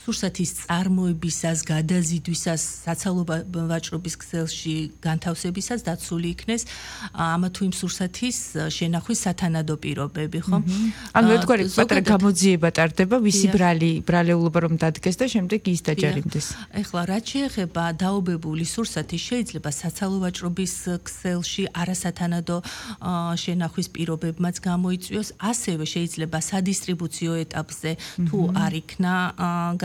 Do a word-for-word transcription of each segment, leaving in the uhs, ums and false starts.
სურსათის წარმოებისას, გადაზიდვისას, საცალო ვაჭრობის ქსელში განთავსებისას დაცული იქნეს ამა თუ იმ სურსათის შენახვის სათანადო პირობები, ხო? ანუ ერთგვარი პატარა გამოძიება ტარდება, ვისი ბრალი, ბრალეულობა რომ დადგეს და შემდეგ ის დაჯარიმდეს. ეხლა რაც შეეხება დაობებული სურსათი, შეიძლება საცალო ვაჭრობის ქსელში არასათანადო შენახვის პირობებმაც გამოიწვიოს, ასევე შეიძლება სადისტრიბუციო ეტაპზე თუ არ იქნა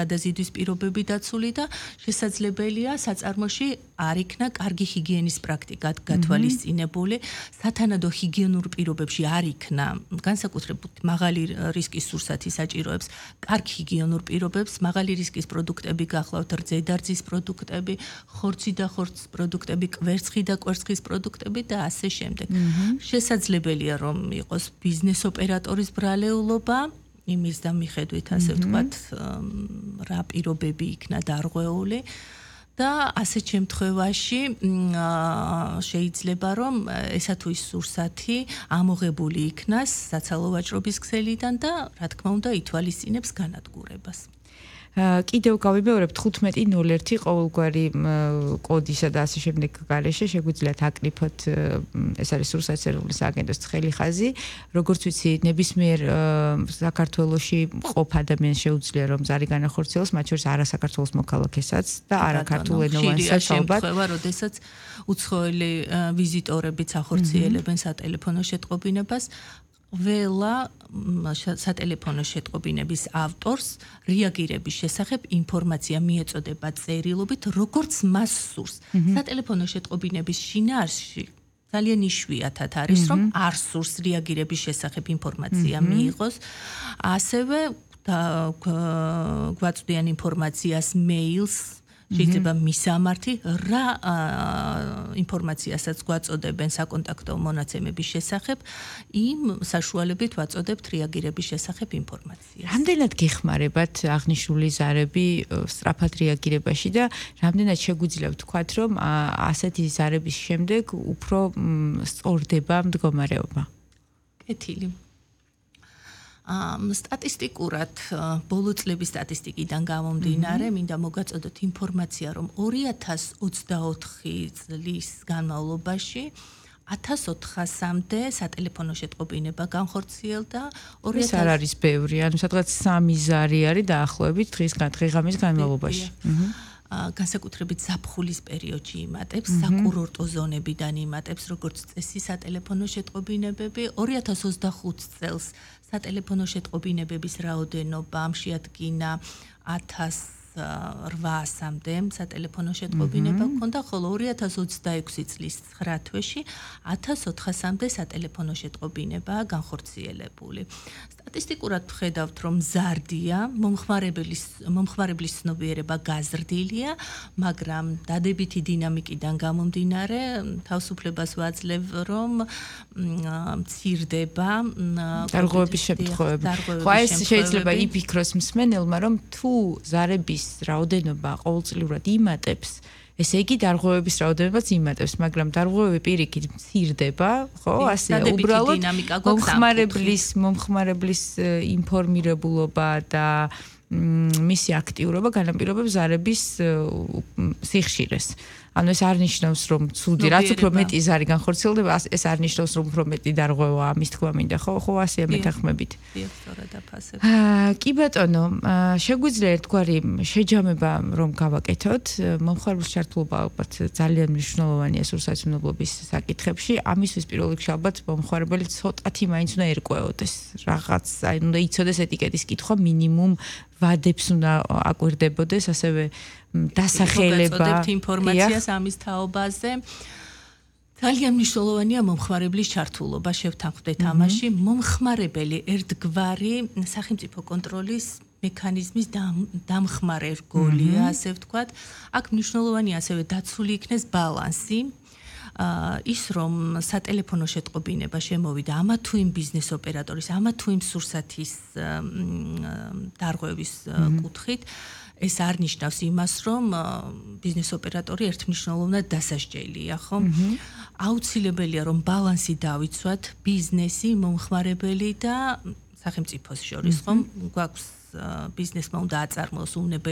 გადაზიდვის პირობები დაცული და შესაძლებელია საწარმოში არ იქნა კარგი ჰიგიენის პრაქტიკა გათვალისწინებული, სათანადო ჰიგიენურ პირობებში არ იქნა განსაკუთრებით მაღალი რისკის სურსათი საჭიროებს კარგ ჰიგიენურ პირობებს, მაღალი რისკის პროდუქტები გახლავთ რძედარძის პროდუქტები, ხორცი და ხორცის პროდუქტები, კვერცხი და კვერცხის პროდუქტები და ასე შემდეგ. შესაძლებელია რომ იყოს ბიზნეს ოპერატორის ბრალეულობა იმის და მიხედვით ასე ვთქვათ რა პირობები იქნა დარღვეული და ასეთ შემთხვევაში შეიძლება რომ ესა თუ ის სურსათი ამოღებული იქნას საცალო ვაჭრობის ქსელიდან და რა თქმა უნდა ითვალისწინებს განადგურებას. კიდევ გავიმეორებ თხუთმეტი ნული ერთი ყოველგვარი კოდისა და ასე შემდეგ გარეშე შეგვიძლიათ აკრიფოთ ეს არის სურსათის ეროვნული სააგენტოს ცხელი ხაზი როგორც ვიცი ნებისმიერ საქართველოში ყოფ ადამიანს შეუძლია რომ ზარი განახორციელოს მათ შორის არასაკსაქართველოს მოქალაქესაც და არაქართულენოვანსაც ალბათ როდესაც უცხოელი ვიზიტორებიც ახორციელებენ სატელეფონო შეტყობინებას ველა სატელეფონო შეტყობინების ავტორს რეაგირების შესახებ ინფორმაცია მიეწოდება წერილობით, როგორც მას სურს. სატელეფონო შეტყობინების შინაარსში ძალიან იშვიათად არის, რომ არ სურს რეაგირების შესახებ ინფორმაცია მიიღოს. ასევე გვაწვდიან ინფორმაციას მეილს შეიძლება მისამართი რა ინფორმაციასაც გვაწოდებენ საკონტაქტო მონაცემების შესახებ, იმ საშუალებით ვაწოდებთ რეაგირების შესახებ ინფორმაციას. რამდენად გეხმარებათ აღნიშნული ზარები სწრაფად რეაგირებაში და რამდენად შეგვიძლია ვთქვათ, რომ ასეთი ზარების შემდეგ უფრო სწორდება მდგომარეობა? კეთილი. სტატისტიკურად ბოლო წლების სტატისტიკიდან გამომდინარე, მინდა მოგაწოდოთ ინფორმაცია, რომ ორი ათას ოცდაოთხი წლის განმავლობაში ათას ოთხასამდე სატელეფონო შეტყობინება განხორციელდა. ეს არ არის ბევრი, ანუ სადღაც სამი ზარი არის დაახლოებით დღის-დღეღამის განმავლობაში. განსაკუთრებით ზაფხულის პერიოდში იმატებს, საკურორტო ზონებიდან იმატებს, როგორც წესი სატელეფონო შეტყობინებები. ორი ათას ოცდახუთი წელს სატელეფონო შეტყობინებების რაოდენობა შეადგინა ათას რვაასამდე სატელეფონო შეტყობინება ჰქონდა, ხოლო ორი ათას ოცდაექვსი წლის ცხრა თვეში ათას ოთხასამდე სატელეფონო შეტყობინებაა განხორციელებული. სტატისტიკურად ვხედავთ, რომ მზარდია, მომხმარებლის მომხმარებლის ცნობიერება გაზრდილია, მაგრამ დადებითი დინამიკიდან გამომდინარე, თავისუფლებას ვაძლევ, რომ მცირდება დარღვევების შემთხვევები. ხო, ეს შეიძლება იფიქროს მსმენელმა, რომ თუ ზარების რაოდენობა ყოველწლიურად იმატებს, ესე იგი დარღვევების რაოდენობაც იმატებს, მაგრამ დარღვევები პირიქით მცირდება, ხო, ასე უბრალოდ მომხმარებლის მომხმარებლის ინფორმირებულობა და მისი აქტიურობა განაპირობებს ზარების სიხშირეს. ანუ ეს არ ნიშნავს, რომ ცუდი, რაც უფრო მეტი ზარი განხორციელდება, ეს არ ნიშნავს, რომ უფრო მეტი დარღვევაა, ამის თქმა მინდა, ხო, ხო, ასეა მეთანხმებით. კი ბატონო, შეგვიძლია ერთგვარი შეჯამება რომ გავაკეთოთ, მომხმარებლის ჩართულობა ალბათ ძალიან მნიშვნელოვანია სურსათმცნობლობის საკითხებში, ამისთვის პირველ რიგში ალბათ მომხმარებელი ცოტათი მაინც უნდა ერკვეოდეს, რაღაც, აი უნდა იცოდეს ეტიკეტის კითხვა მინიმუმ ვადებს უნდა აკვირდებოდეს, ასევე დასახელება. ვაწოდებთ ინფორმაციას ამის თაობაზე. ძალიან მნიშვნელოვანია მომხმარებლის ჩართულობა, შევთანხმდეთ ამაში. მომხმარებელი ერთგვარი სახელმწიფო კონტროლის მექანიზმის დამხმარე რგოლია, ასე ვთქვათ. აქ მნიშვნელოვანია ასევე დაცული იქნეს ბალანსი. ის რომ სატელეფონო შეტყობინება შემოვიდა ამა თუ იმ ბიზნეს ოპერატორის, ამა თუ იმ სურსათის დარღვევის კუთხით, ეს არ ნიშნავს იმას, რომ ბიზნეს ოპერატორი ერთმნიშვნელოვნად დასასჯელია, ხო? აუცილებელია რომ ბალანსი დავიცვათ ბიზნესი, მომხმარებელი და სახელმწიფოს შორის, ხო? გვაქვს ბიზნესმა უნდა აწარმოოს უნებელი